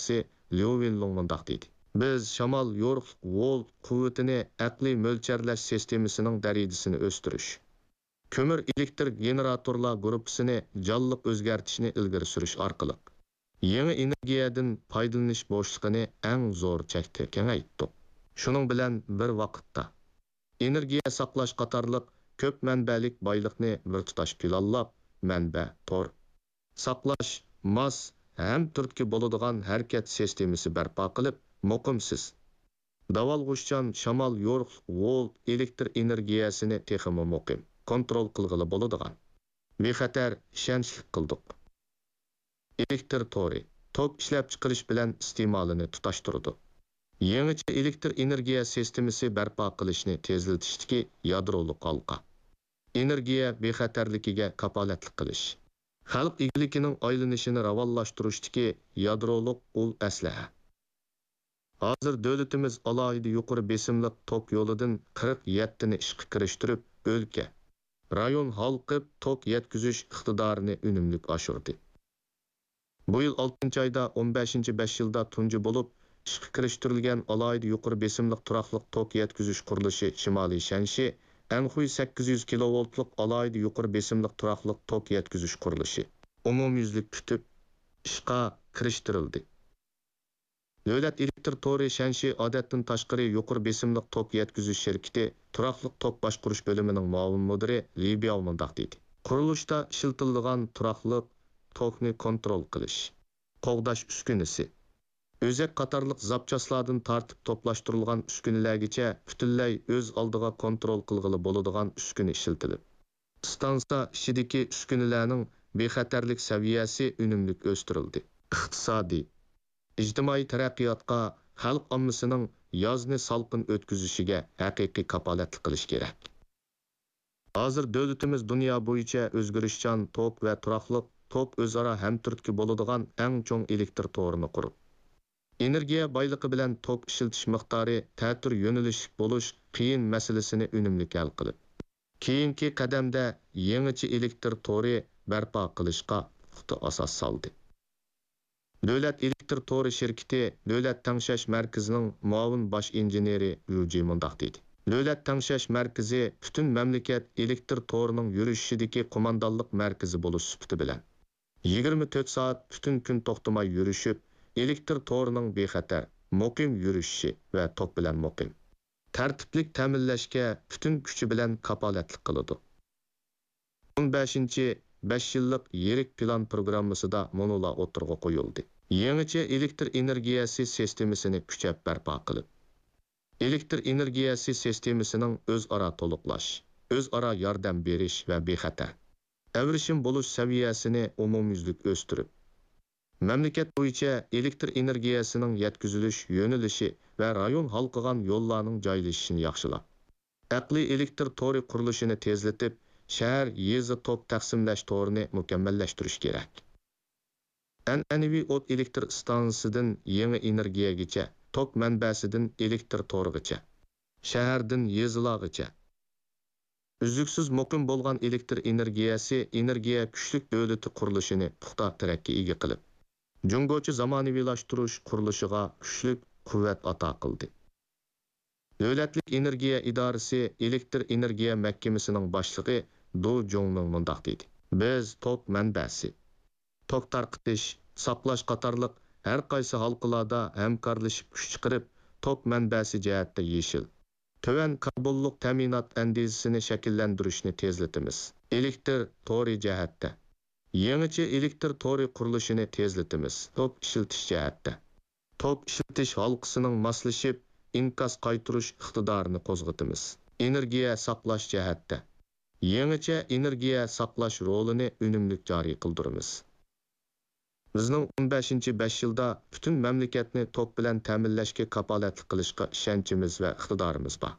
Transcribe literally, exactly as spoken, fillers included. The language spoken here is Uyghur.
مۇتەخەسسىسى ليۇ ۋېنلۇڭ مۇنداق دېدى: بىز شامال يورۇقلۇق ۋولت قۇۋۋىتىنى ئەقلىي مۆلچەرلەش سىستېمىسىنىڭ دەرىجىسىنى ئۆستۈرۈش، كۆمۈر ئېلېكتر گېنېراتورلار گۇرۇپپىسىنى جانلىق ئۆزگەرتىشنى ئىلگىرى سۈرۈش ئارقىلىق، يېڭى ئېنېرگىيەدىن پايدىلىنىش بوشلۇقىنى ئەڭ زور چەكتە كېڭەيتتۇق. شۇنىڭ بىلەن بىر ۋاقىتتا، ئېنېرگىيە ساقلاش قاتارلىق كۆپ مەنبەلىك بايلىقنى بىر تۇتاش پىلانلاپ، مەنبە، تور، ساقلاش، ماس ھەم تۈرتكە بولىدىغان ھەرىكەت سىستېمىسى بەرپا قىلىپ، مۇقىمسىز، داۋالغۇشچان شامال يورۇقلۇق ۋولت ئېلېكتر ئېنېرگىيەسىنى تېخىمۇ مۇقىم، كونترول قىلغىلى بولىدىغان، بىخەتەر، ئىشەنچلىك قىلدۇق. ئېلېكتر تورى توك ئىشلەپچىقىرىش بىلەن ئىستېمالىنى تۇتاشتۇرىدۇ. يېڭىچە ئېلېكتر ئېنېرگىيە سىستېمىسى بەرپا قىلىشنى تېزلىتىشتىكى يادرولۇق ھالقا. ئېنېرگىيە بىخەتەرلىكىگە كاپالەتلىك قىلىش. خەلق ئىگىلىكىنىڭ ئايلىنىشىنى راۋانلاشتۇرۇشتىكى يادرولۇق ئۇل ئەسلىھە. ھازىر دۆلىتىمىز ئالاھىدە يۇقىرى بېسىملىق توك يولىدىن قىرىق يەتتىنى ئىشقا كىرىشتۈرۈپ، ئۆلكە، رايون ھالقىپ توك يەتكۈزۈش ئىقتىدارىنى ئۈنۈملۈك ئاشۇردى. بۇ يىل ئالتىنچى ئايدا ئون بەشىنچى بەش يىلدا تۇنجى بولۇپ ئىشقا كىرىشتۈرۈلگەن ئالاھىدە يۇقىرى بېسىملىق تۇراقلىق توك يەتكۈزۈش قۇرۇلۇشى شىمالىي شەنشى ئەنخۇي سەككىز يۈز كىلوۋولتلۇق ئالاھىدە يۇقىرى بېسىملىق تۇراقلىق توك يەتكۈزۈش قۇرۇلۇشى ئومۇميۈزلۈك پۈتۈپ، ئىشقا كىرىشتۈرۈلدى. دۆلەت ئېلېكتر تورى شەنشى ئادەتتىن تاشقىرى يۇقىرى بېسىملىق توك يەتكۈزۈش شىركىتى تۇراقلىق توك باشقۇرۇش بۆلۈمىنىڭ مۇئاۋىن مۇدىرى لى بياۋ مۇنداق دېدى: قۇرۇلۇشتا ئىشلىتىلىدىغان تۇراقلىق توكنى كونترول قىلىش، قوغداش ئۈسكۈنىسى، ئۆزەك قاتارلىق زاپچاسلاردىن تارتىپ توپلاشتۇرۇلغان ئۈسكۈنىلەرگىچە پۈتۈنلەي ئۆز ئالدىغا كونترول قىلغىلى بولىدىغان ئۈسكۈنە ئىشلىتىلىپ، ئىستانسا ئىچىدىكى ئۈسكۈنىلەرنىڭ بىخەتەرلىك سەۋىيەسى ئۈنۈملۈك ئۆستۈرۈلدى. ئىقتىسادىي، ئىجتىمائىي تەرەققىياتقا، خەلق ئاممىسىنىڭ يازنى سالقىن ئۆتكۈزۈشىگە ھەقىقىي كاپالەتلىك قىلىش كېرەك. ھازىر دۆلىتىمىز دۇنيا بويىچە ئۆزگىرىشچان توك ۋە تۇراقلىق توك ئۆزئارا ھەمتۈرتكە بولىدىغان ئەڭ چوڭ ئېلېكتر تورىنى قۇرۇپ، ئېنېرگىيە بايلىقى بىلەن توك ئىشلىتىش مىقدارى تەتۈر يۆنىلىشلىك بولۇش قىيىن مەسىلىسىنى ئۈنۈملۈك ھەل قىلىپ، كېيىنكى قەدەمدە يېڭىچە ئېلېكتر تورى بەرپا قىلىشقا پۇختا ئاساس سالدى. دۆلەت ئېلېكتر تورى شىركىتى دۆلەت تەڭشەش مەركىزىنىڭ مۇئاۋىن باش ئىنژېنېرى يۇجى مۇنداق دېدى: دۆلەت تەڭشەش مەركىزى پۈتۈن مەملىكەت ئېلېكتر تورىنىڭ يۈرۈشۈشىدىكى قوماندانلىق مەركىزى بولۇش سۈپىتى بىلەن، يىگىرمە تۆت سائەت پۈتۈن كۈن توختىماي يۈرۈشۈپ، ئېلېكتر تورىنىڭ بىخەتەر، مۇقىم يۈرۈشۈشى ۋە توك بىلەن مۇقىم، تەرتىپلىك تەمىنلەشكە پۈتۈن كۈچى بىلەن كاپالەتلىك قىلىدۇ. ئون بەشىنچى بەش يىللىق يىرىك پىلان پروگراممىسىدا مۇنۇلار ئوتتۇرىغا قويۇلدى: يېڭىچە ئېلېكتر ئېنېرگىيەسى سىستېمىسىنى كۈچەپ بەرپا قىلىپ، ئېلېكتر ئېنېرگىيەسى سىستېمىسىنىڭ ئۆزئارا تولۇقلاش، ئۆزئارا ياردەم بېرىش ۋە بىخەتەر، ئەۋرىشىم بولۇش سەۋىيەسىنى ئومۇميۈزلۈك ئۆستۈرۈپ، مەملىكەت بويىچە ئېلېكتر ئېنېرگىيەسىنىڭ يەتكۈزۈلۈش يۆنىلىشى ۋە رايون ھالقىغان يوللارنىڭ جايلىشىشىنى ياخشىلاپ، ئەقلىي ئېلېكتر تورى قۇرۇلۇشىنى تېزلىتىپ، شەھەر، يېزا توك تەقسىملەش تورىنى مۇكەممەللەشتۈرۈش كېرەك. ئەنئەنىۋى ئوت ئېلېكتر ئىستانسىسىدىن يېڭى ئېنېرگىيەگىچە، توك مەنبەسىدىن ئېلېكتر تورىغىچە، شەھەردىن يېزىلارغىچە ئۈزلۈكسىز مۇقىم بولغان ئېلېكتر ئېنېرگىيەسى ئېنېرگىيە كۈچلۈك دۆلىتى قۇرۇلۇشىنى پۇختا تىرەككە ئىگە قىلىپ، جۇڭگوچە زامانىۋىلاشتۇرۇش قۇرۇلۇشىغا كۈچلۈك قۇۋۋەت ئاتا قىلدى. دۆلەتلىك ئېنېرگىيە ئىدارىسى ئېلېكتر ئېنېرگىيە مەھكىمىسىنىڭ باشلىقى دۇ جۇڭمىڭ مۇنداق دېدى: بىز توك مەنبەسى، توك تارقىتىش، ساقلاش قاتارلىق ھەر قايسى ھالقىلاردا ھەمكارلىشىپ كۈچ چىقىرىپ، توك مەنبەسى جەھەتتە يېشىل، تۆۋەن كاربونلۇق تەمىنات ئەندىزىسىنى شەكىللەندۈرۈشنى تېزلىتىمىز. ئېلېكتر تورى جەھەتتە، يېڭىچە ئېلېكتر تورى قۇرۇلۇشىنى تېزلىتىمىز. توك ئىشلىتىش جەھەتتە، توك ئىشلىتىش ھالقىسىنىڭ ماسلىشىپ، ئىنكاس قايتۇرۇش ئىقتىدارىنى قوزغىتىمىز. ئېنېرگىيە ساقلاش جەھەتتە، يېڭىچە ئېنېرگىيە ساقلاش رولىنى ئۈنۈملۈك جارى قىلدۇرىمىز. بىزنىڭ ئون بەشىنچى بەش يىلدا پۈتۈن مەملىكەتنى توك بىلەن تەمىنلەشكە كاپالەتلىك قىلىشقا ئىشەنچىمىز ۋە ئىقتىدارىمىز بار.